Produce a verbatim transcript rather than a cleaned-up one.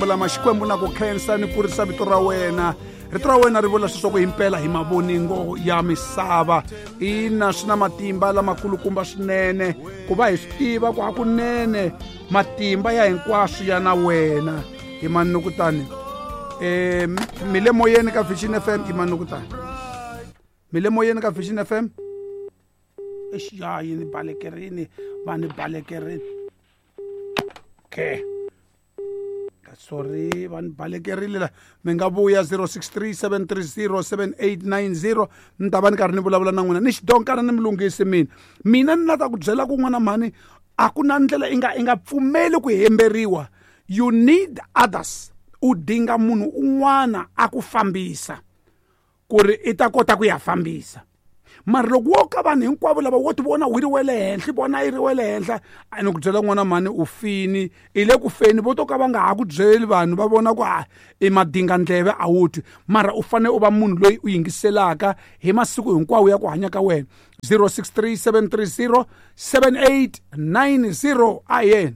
Lama Xikwembu na ku khensa ni kurisa vito ra wena. Rito ra wena ri vula leswaku himpela hi mavoningo ya misava. Ina, swi na matimba lamakulukumba swinene ku va hi swi tiva ku hakunene matimba ya hinkwaswo ya na wena. Hi manukutani um mi le moyeni ka Vision F M. I manukutani mi le moyeni ka Vision F M. Exi, ya yi ni balekerini, va ni balekerini. Okay, sorry, va ni balekerile la. Mi nga vuya zero six three seven three zero seven eight nine zero. Ni ta va ni karhi ni vulavula na n'wina. Ni xidonkana ni mi lunghisi mina. Mina ni la ta ku byela ku n'wana mhani, a ku na ndlela i nga, i nga pfumeli ku hemberiwa. You need others. U dinga munhu un'wana a ku fambisa ku ri i ta kota ku ya fambisa. Mara loko wo ka vanhu hinkwavo lava wo ti vona wu ri wa le henhla, i vona yi ri wa le henhla, a ni ku byela n'wana mhani u fini, i le ku feni, vo to ka va nga ha ku byeli vanhu, va vona ku, ah, i madingandleve a wu twi. Mara u fanele u va munhu loyi u yingiselaka hi masiku hinkwawo ya ku hanya ka wena. zero six three seven three zero seven eight nine zero. A yena.